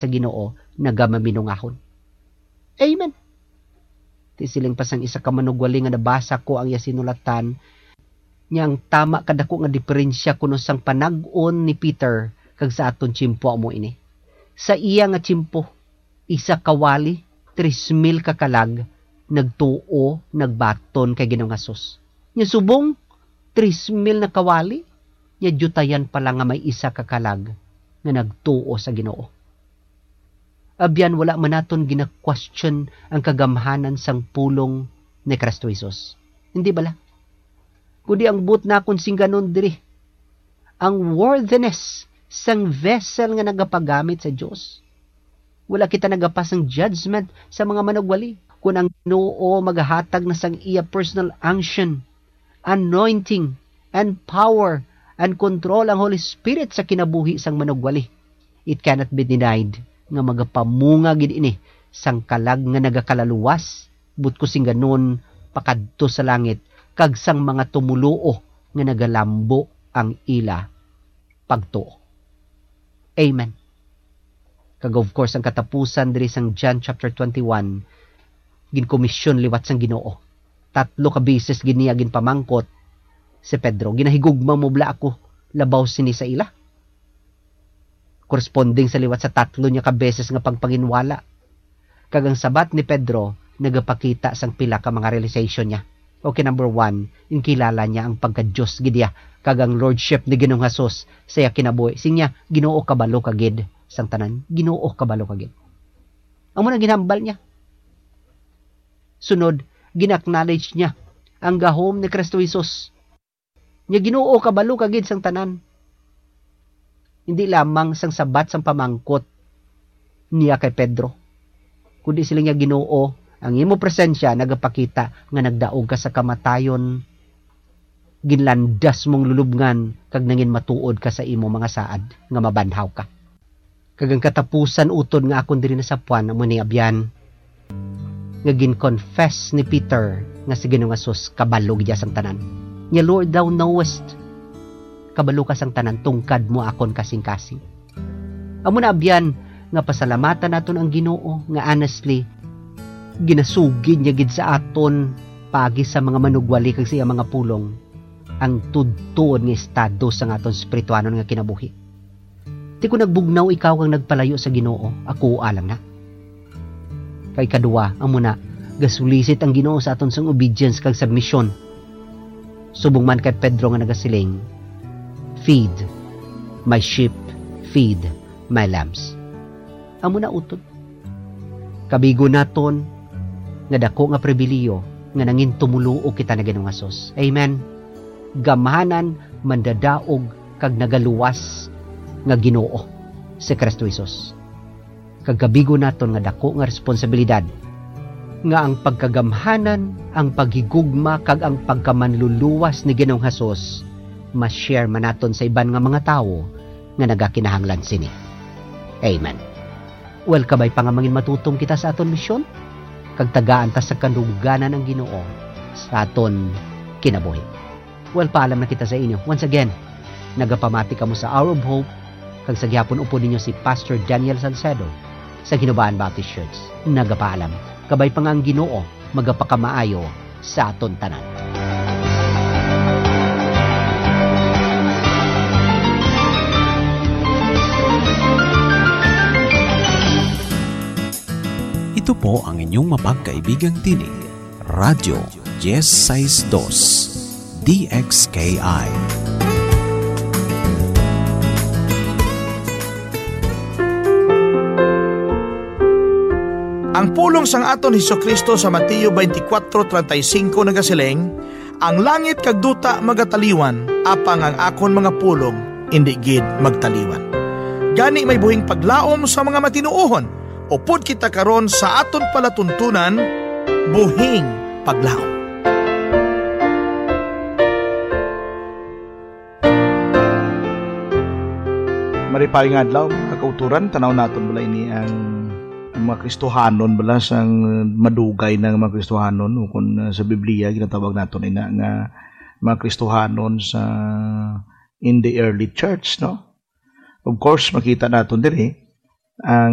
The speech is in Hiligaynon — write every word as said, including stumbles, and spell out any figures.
sa Ginoo nagamaminungahon. Amen. Ti siling pa sang isa ka manugwali nga nabasa ko ang iya sinulatan, niya ang tama kadako nga diferensya kuno sang panag-on ni Peter kag sa aton tiyempo amo ini. Sa iya nga tiyempo, isa ka wali, tres mil ka kalag, nagtuo, nagbaton kay Ginoong Hesus. Nya subong, tres mil na kawali, nya diyutayan pa lang nga may isa ka kalag nga nagtuo sa Ginoo. Abyan, wala man naton gina-question ang kagamhanan sang pulong ni Cristo Jesus. Hindi bala? Kundi ang buot nakon singganon diri, ang worthiness sang vessel nga nagapagamit sa Dios. Wala kita nagapas sang judgment sa mga manugwali. Kon ang Ginoo magahatag na sang iya personal unction, anointing, and power, and control ang Holy Spirit sa kinabuhi sang manugwali, it cannot be denied nga magapamunga gid ini sang kalag nga nagakalaluwas, buot ko singganon, pakadto sa langit, kag sang mga tumoluo nga nagalambo ang ila pagtuo. Amen. Kag of course, ang katapusan diri sang John chapter twenty-one, ginkomisyon liwat sang Ginoo. Tatlo ka beses gid niya ginpamangkot si Pedro, "Ginahigugma mo bala ako labaw sini sa ila?" Corresponding sa liwat sa tatlo niya ka beses nga pagpanginwala. Kag ang sabat ni Pedro nagapakita sang pila ka mga realization niya. Okay, number one, ginkilala niya ang pagka-Dios gid niya, kag ang lordship ni Ginoong Hesus sa iya kinabuhi. Siling niya, "Ginoo, kabalo ka gid sang tanan. Ginoo, kabalo ka gid." Amo na ginhambal niya. Sunod, gin-acknowledge niya ang gahom ni Cristo Jesus. Nya, "Ginoo, kabalo ka gid sang tanan." Hindi lamang sang sabat sang pamangkot niya kay Pedro, kundi siling niya, "Ginoo, ang imo presensya nagapakita nga nagdaog ka sa kamatayon. Ginlandas mong lulubngan kag nangin matuod ka sa imo mga saad nga mabanhaw ka." Kag ang katapusan utod nga akon diri nasapuan amo ni, abyan, nga gin-confess ni Peter nga si Ginoong Jesus kabalo gid sang tanan. Niya, "Lord, thou knowest, kabalo ka sang tanan, tungkad mo akon kasingkasing." Amo na, abyan, nga pasalamatan naton ang Ginoo nga honestly ginasugid niya gid sa aton paagi sa mga manugwali kag sa iya mga pulong ang tudtuon nga estado sang aton espirituhanon nga kinabuhi. Ti kon nagbugnaw ikaw kag nagpalayo sa Ginoo, akoa lang na. Kay kadua, amo na, gasulisit ang Ginoo sa aton sang obedience kag submission. Subong man kay Pedro nga nagasiling, "Feed my sheep, feed my lambs." Amo na utod. Kabigo naton nga dako nga pribilihiyo nga nangin tumoluo kita ni Ginoong Hesus. Amen. Gamhanan, mandadaog, kag nagaluwas nga Ginoo si Cristo Jesus. Kag kabigo naton nga dako nga responsabilidad nga ang pagkagamhanan, ang paghigugma, kag ang pagkamanluluwas ni Ginoong Hesus ma-share man naton sa iban nga mga tawo nga nagakinahanglan sini. Amen. Well, kabay pa nga mangin matutom kita sa aton misyon, kag tagaan ta sa kadungganan ang Ginoo sa aton kinabuhi. Well, paalam na kita sa inyo. Once again, nagapamati kamo sa Hour of Hope, kag sa gihapon upod ninyo si Pastor Daniel Salcedo sa Ginobaan Baptist Church. Nagapaalam. Kabay pa nga ang Ginoo magapakamaayo sa aton tanan. Ito po ang inyong mapagkaibigang tinig, Radyo diez seis dos, D X K I. Ang pulong sang aton Jesu-Cristo sa Mateo twenty-four treinta y cinco nagasiling, "Ang langit kag duta magataliwan, apang ang akon mga pulong indi gid magtaliwan." Gani may buhing paglaom sa mga matinuohon, upod kita karon sa aton palatuntunan, buhing paglaom. Maripay nga adlaw, mga kauturan, tanaw naton bala ini ang, ang mga Kristohanon bala sang madugay na nga mga Kristohanon, o kung, ah, sa Biblia ginatawag naton ina nga mga Kristohanon sa in the early church, no? Of course, makita naton diri ang